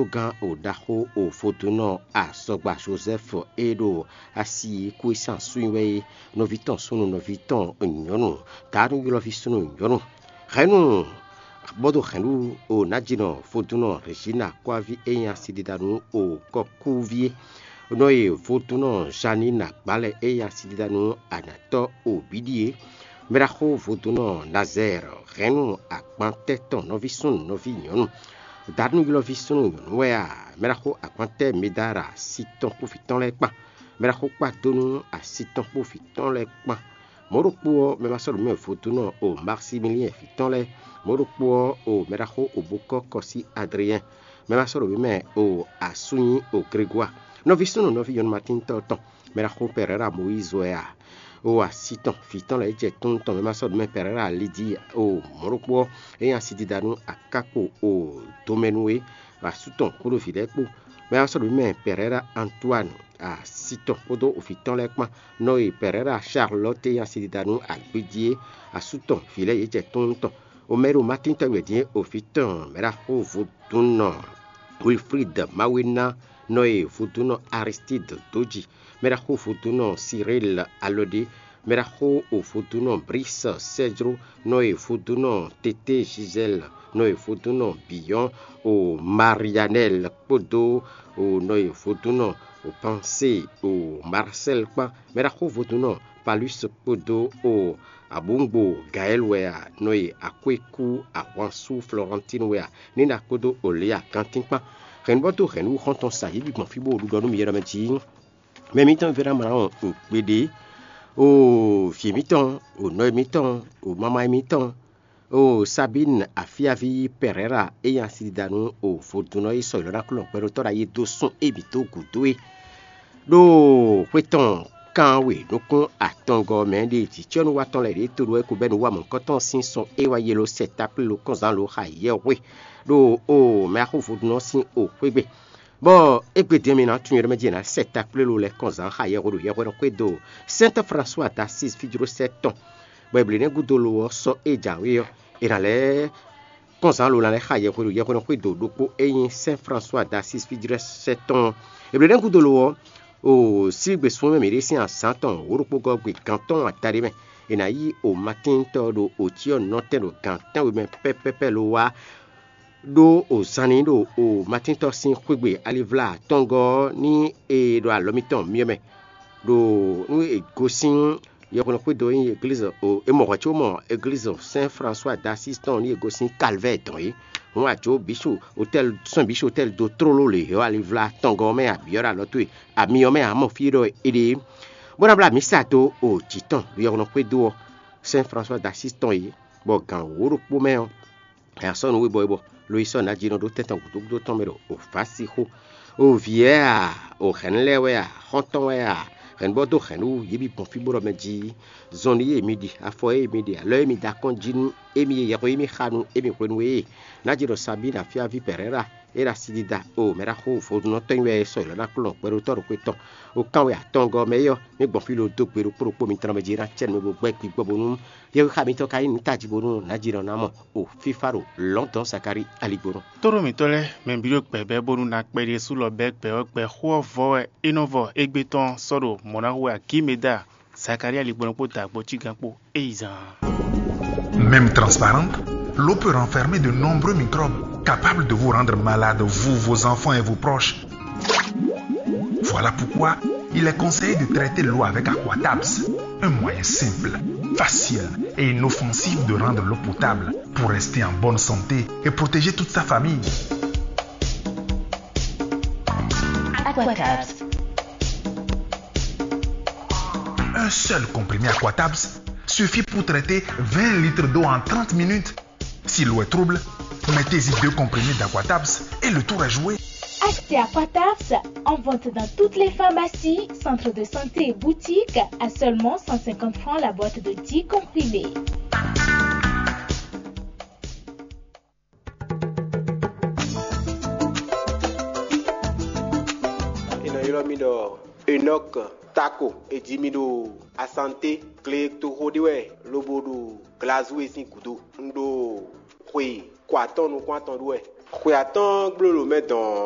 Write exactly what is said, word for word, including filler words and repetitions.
Gán o ɖaxó o vodúnɔ azɔgba Jozɛ́fu e ɖo asi kú e sín asú nyi wɛ é, nɔví tɔn súnnu, nɔví tɔn nyɔ̌nu, taánu ylɔ́ví súnnu nyɔ̌nu. Hɛ̌nnu bɔ dó hɛ̌nnu o nǎjínɔ vodúnɔ Rězína kɔ́ví e nyí asidídánú o kɔkúví é, nɔ e vodúnɔ Zanína gbǎ lɛ́ɛ e nyí asidídánú anatɔ́ o bǐ ɖíe. Mɛɖaxó vodúnɔ Nazɛ́ɛ hɛ̌nnu agbantɛ́ tɔn nɔví súnnu, nɔví nyɔ̌nu, daɖúnylɔ́ví súnnu nyɔ̌nu wɛ a? Mɛɖaxó agbantɛ́ Medára asi tɔn kpó vǐ tɔn lɛ́ɛ kpán. Mɛɖaxó kpá dó nú asi tɔn kpó vǐ tɔn lɛ́ɛ kpán. Mɔ̌ ɖokpó ɔ́, mɛ ma sɔ́ ɖo mɛ vodúnɔ o Maximiliyɛn vǐ tɔn lɛ́ɛ. Mɔ̌ ɖokpó ɔ́, o mɛɖaxó o bó kɔ́ kɔ sí Adriyɛn. Mɛ ma sɔ́ ɖo mɛ o asú nyí o Gregwaa. Nɔví súnnu, nɔví nyɔ̌nu matíntɔ́ tɔn, mɛɖaxó Pɛrɛ́ra Mɔyízi wɛ a? O asi tɔn, vǐ tɔn lɛ́ɛ jɛ tún tɔn mɛ ma sɔ́ ɖo mɛ Pɛrɛ́ra Lidii o mɔ̌ ɖokpó ɔ́, é nyí asidídánú akákpo o domɛnu é, asú tɔn kpódó vǐ lɛ́ɛ kpó. Mɛ ma sɔ́ ɖo mɛ Pɛrɛ́ra Antuwánu asi tɔn kpódó vǐ tɔn lɛ́ɛ kpán. Nɔ e Pɛrɛ́ra Charlɔ́te nyí asidídánú agbéjí é, asú tɔn vǐ lɛ́ɛ yě jɛ tún tɔn. O mɛ ɖo Matín tɔn wɛ din é, o vǐ tɔn mɛɖaxó vodúnnɔ Wilfrid Mawéná, nɔ e vodúnnɔ Aristíd dó ji, mɛɖaxó vodúnnɔ Sirél Alɔɖé, mɛɖaxó o vodúnnɔ Brís Sɛ́jló, nɔ e vodúnnɔ Teté Zizɛ́l, nɔ e vodúnnɔ Biyɔ́n o Marianɛ́l kpódó o nɔ e vodúnnɔ o Pansée o Marsɛ́l kpán, mɛɖaxó vodúnnɔ Palús kpódó o abǔngbo Gaɛ́l wɛ a, nɔ e akwékú ahwansú Flɔrantín wɛ a, Nína kpódó Olía gantín kpán. Hɛ̌nnubɔ́tó hɛ̌nnu xɔ́ntɔn sa yě bǐ gbɔn fí bó ɖiɖɔ nú mi yɛ ɖɔ mɛ jí. Mɛ mǐtɔn Véra mlá ɔn o kpeɖé, o vǐ mǐtɔn, o nɔví mǐtɔn, o mama mǐtɔn, o Sabín afíaví Pɛrɛ́ra e nyí asidídánú o vodúnnɔ e sɔ ylɔ́ ná klɔ́n gbɛɖótɔ́ ɖo ayi dó sún émí dó gǔdo é. Ɖo xwé tɔn kan we nukún atɔngɔ́ mɛ ɖe vǐcɔ́núwatɔ́n lɛ́ɛ ɖě to ɖó wɛ ko bɛ́ nǔ wa mɔ̌hunkɔtɔn sín sɔn é wá yelo sɛ takplé lo kɔnzán lo xa yɛhwe ɖo o mɛ axó vodúnnɔ sín o xwé gbe. Bɔ égbé din ɔ́, mi ná tunwun ɖɔ mɛ jí è nǎ sɛ takplé lo lɛ́ kɔnzán xa yɛhwe ɖo yɛhwenɔ xwé do Sɛ́ntɔ́ Fransua d'Asíz fíjlósɛ́ tɔn, bɔ è blǒ nɛ́ gúdo lo ɔ́ sɔ́ é jǎwe ɔ́, è nǎ lɛ́ kɔnzán lo ná lɛ́ xa yɛhwe ɖo yɛhwenɔ xwé do ɖokpó e nyí Sɛ́n Fransua d'Asíz fíjlósɛ́ tɔn ɔ́. È blǒ nɛ́ gúdo lo ɔ́, o sígbe súnnu mɛ mǐɖée sín azǎn tɔn wǒ ɖokpó gɔ́ gbe gan tɔn adaɖé mɛ, è nǎ yí o Matíntɔ́ ɖo ocyɔ́nunɔtɛn ɖo gan tɛ́nwe mɛ pɛ́pɛ́pɛ́ lo wá ɖó o zan n'i ɖo o Matíntɔ́ sín xwé gbe alivlá atɔngɔ́ ɔ́ ní e ɖo alɔ mitɔn myɔ mɛ. Ɖo nú è gosín yɔhwenu xwédo e nyí eglízi o, è mɔ hwɛ̌ có mɔ eglízi Sɛ́n Fransua d'Asíz tɔn ní è gosín Kalvɛ́ɛ dɔn é. Hǔn a jǒ bǐsu otɛ́li sɔ́n bǐsu otɛ́li dó tlóló lě hɛ́ alivlá atɔngɔ́ ɔ́ mɛ abǐ ɔ́ ɖo alɔ towe, ami ɔ́ mɛ ǎ mɔ fí e ɖɔ è ɖe é, bó ná bló amǐ sa dó o jǐ tɔn ɖo yɔhwenu xwédo ɔ́, Sɛ́n Fransua d'Asíz tɔn é, bɔ gǎn wǒ ɖokpó mɛ ɔ́, è nǎ sɔ́ nǔ we bɔ é bɔ, lo yi sɔ́ nǎjínɔ ɖó tɛ́ntɔn gǔdo gúdo tɔn mɛ ɖo o vǎ sí xó. O vǐ wɛ a, o hɛ̌nnu lɛ́ɛ wɛ a, xɔ́ntɔn wɛ a, hɛ̌nnubɔ́ dó hɛ̌nnu wú yě bǐ gbɔn fí bó ɖɔ mɛ jí, zɔn nú yě mi ɖi, afɔ e mi ɖi, alɔ e mi da kɔn jí nú émí e yɛhwesin émí xa nú émí hwenu e nǎjínɔ Sabína fíaví Pɛrɛ́ra e ɖo asi dida o mɛ ɖaxó vodúnnɔtɔ́ nyi wɛ sɔ yě lɔ ná kplɔ́n gbɛɖótɔ́ ɖokpó tɔn. O kánwɛ atɔngɔ́ mɛ é ɔ́, mí gbɔn fí lo dó gbe ɖokpó ɖokpó mitɔn mɛ jí ná cɛ nú mɛ bo gbɛ́ gbigbɔ bónú yɛhwesin mǐtɔn ka nyí nǔtajibónú nǎjínɔ ná mɔ o fífá ɖo lɔ̌ndɔ̌n Zakalíi aligbónɔ. Tóɖó mǐtɔn lɛ́ɛ, mɛ bǐ ɖo gbɛ̌bɛ́ bónú ná kpɛɖé sú lɔ bɛ́ gbɛ ɔ́ gbɛ xó ɔ́ vɔ wɛ é nɔ vɔ égbé tɔn sɔ́ ɖo mɔ̌ ná hu wɛ Akímeda, Zakalíi aligbónɔ kpó dǎgbó cígán kpó é yi zaan. Même transparente, l'eau peut renfermer de nombreux microbes capables de vous rendre malade, vous, vos enfants et vos proches. Voilà pourquoi il est conseillé de traiter l'eau avec Aquatabs, un moyen simple, facile et inoffensif de rendre l'eau potable pour rester en bonne santé et protéger toute sa famille. Aquatabs. Un seul comprimé Aquatabs suffit pour traiter vingt litres d'eau en trente minutes. Si l'eau est trouble, mettez-y deux comprimés d'Aquatabs et le tour est joué. Achetez Aquatabs en vente dans toutes les pharmacies, centres de santé et boutiques à seulement cent cinquante francs la boîte de dix comprimés. È nɔ ylɔ́ mì ɖɔ Enɔk Tako. È ji mì ɖo Asanté, gletoxo ɖé wɛ, lobo ɖo Glazue sín gǔdo. Un ɖo xwe ko atɔ́ɔ́n nukún atɔn ɖó wɛ. Xwe atɔ́ɔ́n gbló ɖo mɛ dɔn ɔ́,